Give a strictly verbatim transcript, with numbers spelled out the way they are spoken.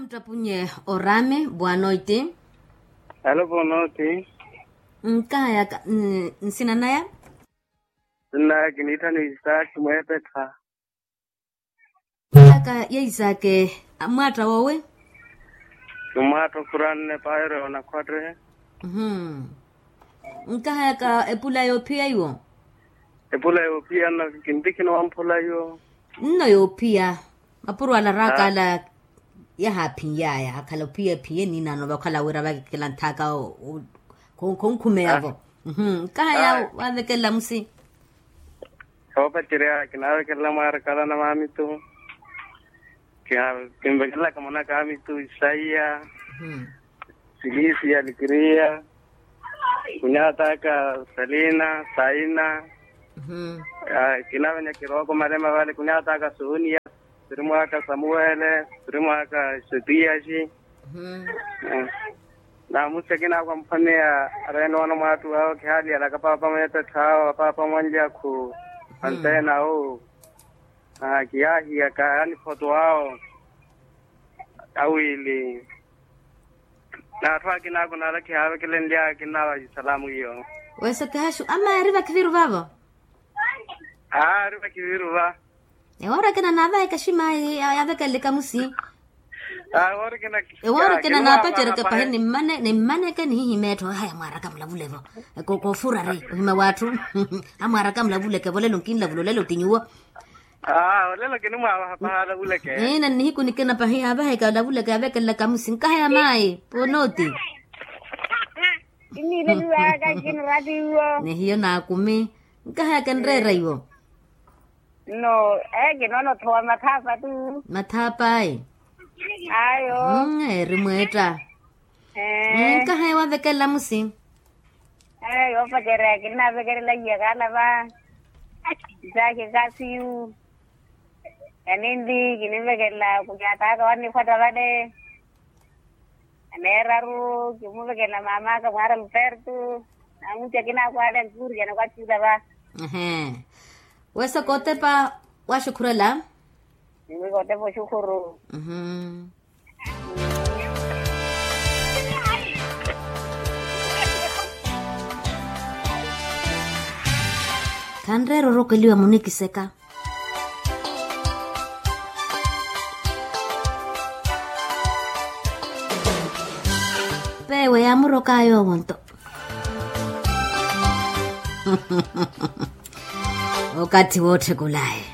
Nttapunye orami bwanoiti. Alo bwanoiti. Nkahayaka nsina naya? Nsina naya kiniitthani isaaki mweepettha. Aka ya isaaki. Mwaatta woowi? Ni mwaatta ofuranne paayoro yoonakhwatte. Nkahayaka epula yoophiya iwo? Epula yoophiya nno kintikhina wamphula iwo. Nno yoophiya. Mapuro ala raaka ala yahaaphiny'aya akhala ophiya ephiye ninaano vakhala wira vakekelanthaka. Khonkhumeyavo. Nkahaya waavekelela musi? Soopacerya kinaavekelela mwaaraka ala na maamitu. Kinvekelelaka mwanaka amitu isaiya, silisiya likiriya. Kunyataka salina saina. Kinavenya kirooko malema vale kunyataka soniya. Siri mwaka samuwele, siri mwaka setiyaxi. Namusi akina akwamphaneya arenoona mwaattu awo kihaaliyalaka paapa mweepettha awo apaapa mwanlyakhu. Anteena awo. Kiyaahiyaka yaani photo awo. Awiili. N'atthu akina ako naala khiyaavekelenlyaka kinnaava isalamu iyo. Weso kihaxu ama eri vakhiviru vavo? Aa eri vakhiviru va. Ewoora ekina naavaheka ximayi yaavekeleleka musi. Ewoora ekina naapacereke pahi. Nimmaneke nihihimya etthu haya mwaaraka mulavulevo. Koofurari ohimya w'atthu. Amwaaraka mulavuleke volelo nkinlavula olelo ti nyuwo. Aa olelo kinimwaavaha pahala vuleke. Nihiku nikina pahi yaavaheka olavuleke yaavekelelaka musi nkahaya mayi ponooti. Kinileliwaka kiniratiwo. Nihiyo naakumi. Nkahaya kinreera iwo. Nno. Ee kinoona othowa mathaapa tu. Mathaapa ayi. Ayo. Eri mweetta. Nkahaya waavekelela musi. Yoopacerya kinnavekelela iyakhala va. Isaaki kasiyu. Yaninli kinimvekelela kunyataka wanikhwatta vale. Yaneeraru kimuvekelela maamaka mwaara lupertu. Namusi akina ako ale ankuuriyana kwattuula va. Weso kootepa. Waxukhurela. Niwi kootepa oxukhuru. Khanreera orokeliwa munikiseka. Peewe yaamurokaya owo nto. Okathi wootthekulaye.